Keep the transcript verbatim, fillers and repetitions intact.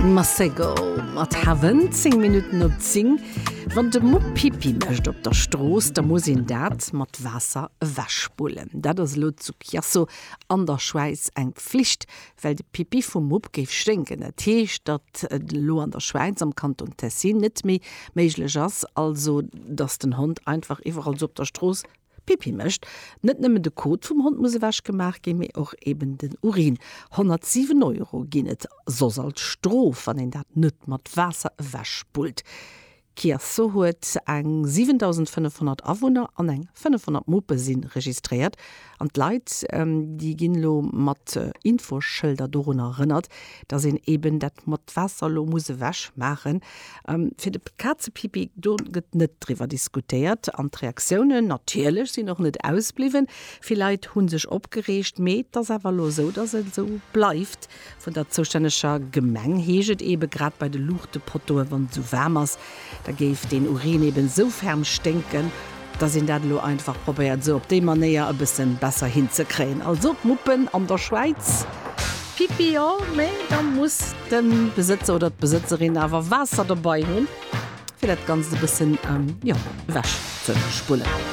Masego mat Heaven, zéng Minutten op zéng. Wann de Mupp Pipi mécht op der Strooss, da muss een dat mat Waasser ewechspullen. Dat ass elo zu Chiasso an der Schwäiz eng Pflicht, well de Pipi vum Mupp géif sténken. Dat heescht, datt et elo an der Schwäiz am Kanton Tessin net méi méiglech ass, also datt den Hond einfach iwwerall sou op der Strooss Pipi mécht. Net nëmmen de Kot vum Hond muss ewech gemaach ginn, mee och eben den Urin. honnertsiwen Euro ginn et soss als Strof, wann een dat net mat Waasser ewech spullt. Chiasso huet eng siwentausendfënnefhonnert Awunner an eng fënnefhonnert Muppe si registréiert. An d'Leit, déi ginn elo mat Infoschëlder dorunner erënnert, dass een eben dat mat Waasser elo muss ewech maachen. Fir de Kazepipi, do gëtt net driwwer diskutéiert. An d'Reaktiounen natierlech sinn och net ausbliwwen. Vill Leit hu sech opgereegt, mee et ass awer elo esou, dass et esou bleift. Vun der zoustänneger Gemeng heescht et ebe grad bei de Luuchtepottoe wann et esou waarm ass, da géif deen Urin eben esou ferm sténken, dass een dat elo einfach probéiert esou op déi Manéier e bëssen besser hinzekréien. Also d'Muppen an der Schwäiz, Pipi jo, mee da muss de Besëtzer oder d'Besëtzerin awer Waasser dobei hunn, fir dat Ganzt e bëssen, jo, ewech ze spullen.